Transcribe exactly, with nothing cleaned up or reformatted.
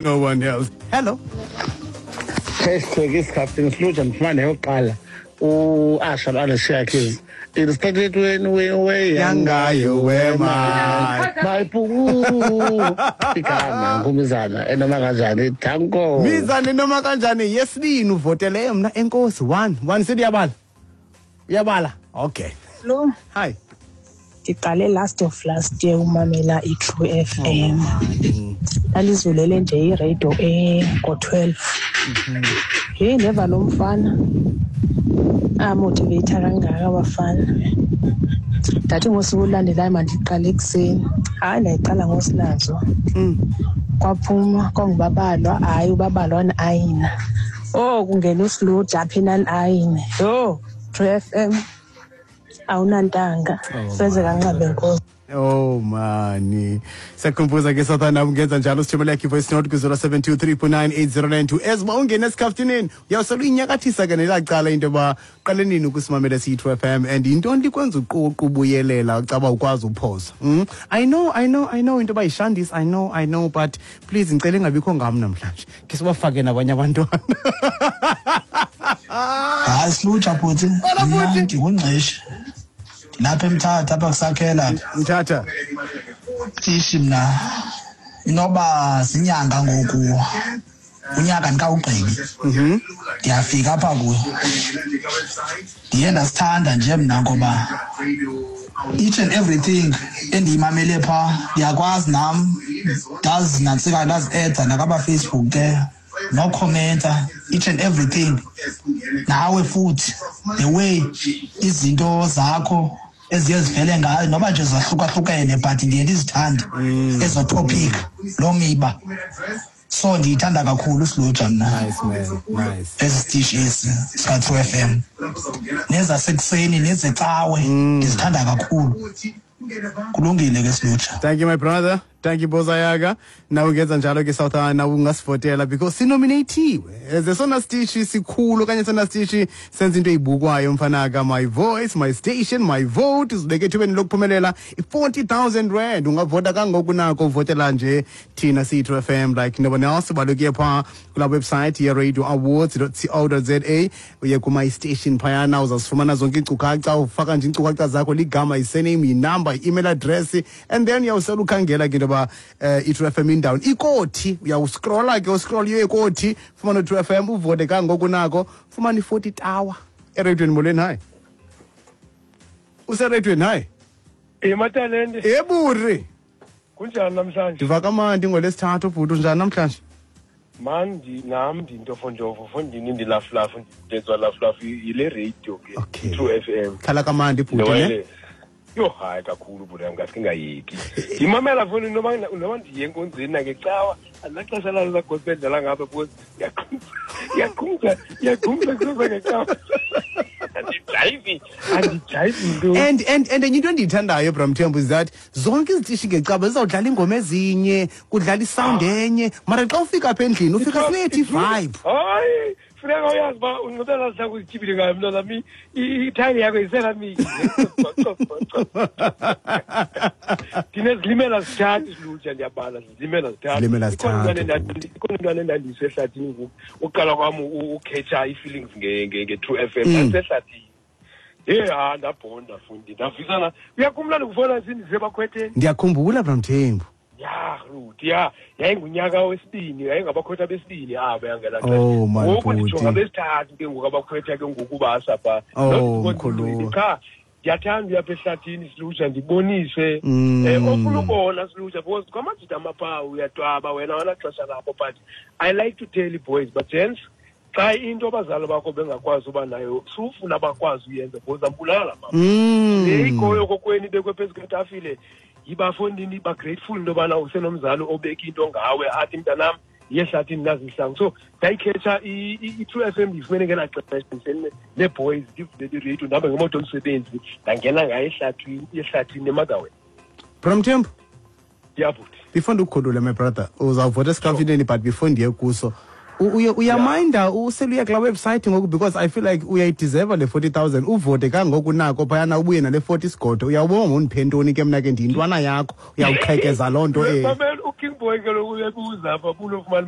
No one else. Hello. Hashtag isikhathini siluja ndifumane yokuqala u-Usher lo-Alicia Keys. It started when we were younger, you were mine. My boo. Igama ngumizana enoma kanjani danko. Mizane noma kanjani yesibini uvotele mna enkosi one one siyabala. Uyabala. Okay. Lo Hi. Ndiqale last of last year umamela i-True F M. Ndalizulele nje iradio ngo-twelve. Hey, ndeva lo mfana amotiveyitha kangaka abafana. Ndathi ngosuku olulandelayo mandiqale ekuseni. Hayi, ndayiqala ngosinazo. Kwaphuma kwangubabalwa, hayi ubabalwa ayina. Oh, kungena uSluja apha enani ayine. Yho, True F M awunantanga. Feze kanqabe nkosi. Oh mani. Siyakhumbuza ke sathana ungenza njalo sithumele yakho voice note ku zero seven two three point nine eight zero nine two. Ezba ungena esikhaftineni uyawusela uyinyakathisa ke nelacala into yoba uqale nini ukusimamela siyi-True F M and yintoni likwenza uququ ubuyelela ucaba ukwazi uphosa. Mm? I know, I know, I know into yoba yishandis, I know, I know, but please ngicela ingabikho ngam namhlanje. Ke sibafake nabanye abantwana. Hayi Sluja bhuti. Hola, bhuti. Ndingungqishe. Lapha eMthatha apha kusakhela. Mthatha. Ishi mna. Inoba zinyanga ngoku. Unyaka ndikawugqibi. Mhm. Ndiyafika apha kuyo. Ndiye ndasithanda nje mna ngoba each and everything endiyimamele pha ndiyakwazi nam ndazinantsika ndazi-eda nakaba Facebook ke no commenta each and everything. Nawe futhi the way izinto zakho eziye zivele ngayo noba nje zahlukahlukene but ndiye ndizithande ezo topic lo miba. So ndiyithanda kakhulu Sluja mna. Nice man, nice. Esi sitishi esi sika True F M. Nezasekuseni nezecawe ndizithanda kakhulu. Kulungile ke Sluja. Thank you my brother. Thank you Bozayaga. Nawe ungenza njalo ke South Africa ungasivotela because sinominatiwe. Esona sitishi sikhulu okanye sona sitishi senza into eyibukwayo mfanaka. My voice, my station, my vote. Uzibeke ethubeni lokuphumelela i-forty thousand rand. Ungavota kangoku nako uvotela nje thina siyi-True F M like no one else. Balukiye pha kula website ye radio awards dot co dot za uye ku my station phayana uzasifumana zonke iinkcukacha. Ufaka nje iinkcukacha zakho, ligama, i-surname, i-number, i-email address, and then uyawusela ukhangela ke into yoba eh, i-True F M indawo ikothi. Uyawuscrolla ke, uscroll uye kothi, fumana u-True F M, uvote kangoku nako, fumana i-forty tower eradiweni. Molweni, hayi useradweni. Hayi ematalente eburi kunjani namhlanje? Ndiva kamandi ngolwesithathu bhuti, unjani namhlanje? Man, nam ndintofonjofo fondini ndilafulafu ndenzwa lafulafu yile radio ke. Okay. True F M. Khala kamandi bhuti ne? Yho hayi kakhulu bhuti yam, ngaske ngayeki. Ndimamela foni noma noma ndiye enkonzweni nangecawa, andinaxesha lalo lagospel ndidlala ngapha because iyaqhumza, iyaqhumza kusasa ngecawa. Andijayivi, andijayivi nto. And, and, and enye into endiyithandayo Bra Mthembu is that zonke izitishi ngecawa zizawudlala iingoma ezinye, kudlala isound enye, mara xa ufika apha endlini ufika sinethi vibe. Hayi, funeka uyazi uba unxibelana zihlangu uzityibile ngayo mntwana mi, ithayile yakho iselamiki. Ndinezilimela zithathu Siluja, ndiyabala, zilimela zithathu. Zilimela zithathu. Ikhona intwana endandiyise ehlathini ngoku, uqala kwam ukhetha ii-feelings nge-True F M, ndandisehlathini. Hey, ha, ndabhonda fundi, ndavisana. Uyakhumbula ndikufona sindisebakhwetheni? Ndiyakhumbula Bra Mthembu. Ya, Ruth, ya, yayingunyaka wesibini, yayingabakhwetha besibini aba yangela xesha. Oh, man, Ngoku nditsho bhuti. ngabesithathu ke ngoku abakhwetha ke ngoku basa pha. Oh, Not mkhulu. Cha, ndiyathanda uya apha ehlathini Siluja ndibonise. Mm. Eh, ofuna ubona Siluja because kwamajita amaphawu uyatwaba wena awuna xesha lapho, but I like to tell you boys, but gents, xa into abazali bakho bengakwazi uba nayo, sufuna bakwazi uyenza because ambulala mama. Mm. Le ikhoyo kokwenu ibekwe phezu kwetafile, yibafondini ba grateful into yobana usenomzali obeka into ngawe athi mntanam yiye ehlathini nazi izihlangu. So ndayikhetha i-True F M ndiyifumene ngelaa xesha ndihleli nee-boys, ndivulele iradio, ndihamba ngemoto yomsebenzi, ndangena ngayo ehlathini, ehlathini eMotherwell. Bra Mthembu? Yeah, bhuti. Before ndikukhulule my brother, uzawuvota esikhaftineni, but before ndiye kuso, Uye uyaminda useluya kulaa website ngoku, because I feel like uyayideserva le forty thousand. Uvote kangoku nako phayana, ubuye nale forty sigodo. Uyawubona ngondiphe ntoni ke mna ke, ndiyintwana yakho, uyawuqhekeza loo nto eh. Mamela, uKing Boy kaloku uyabuza apha, unofumana.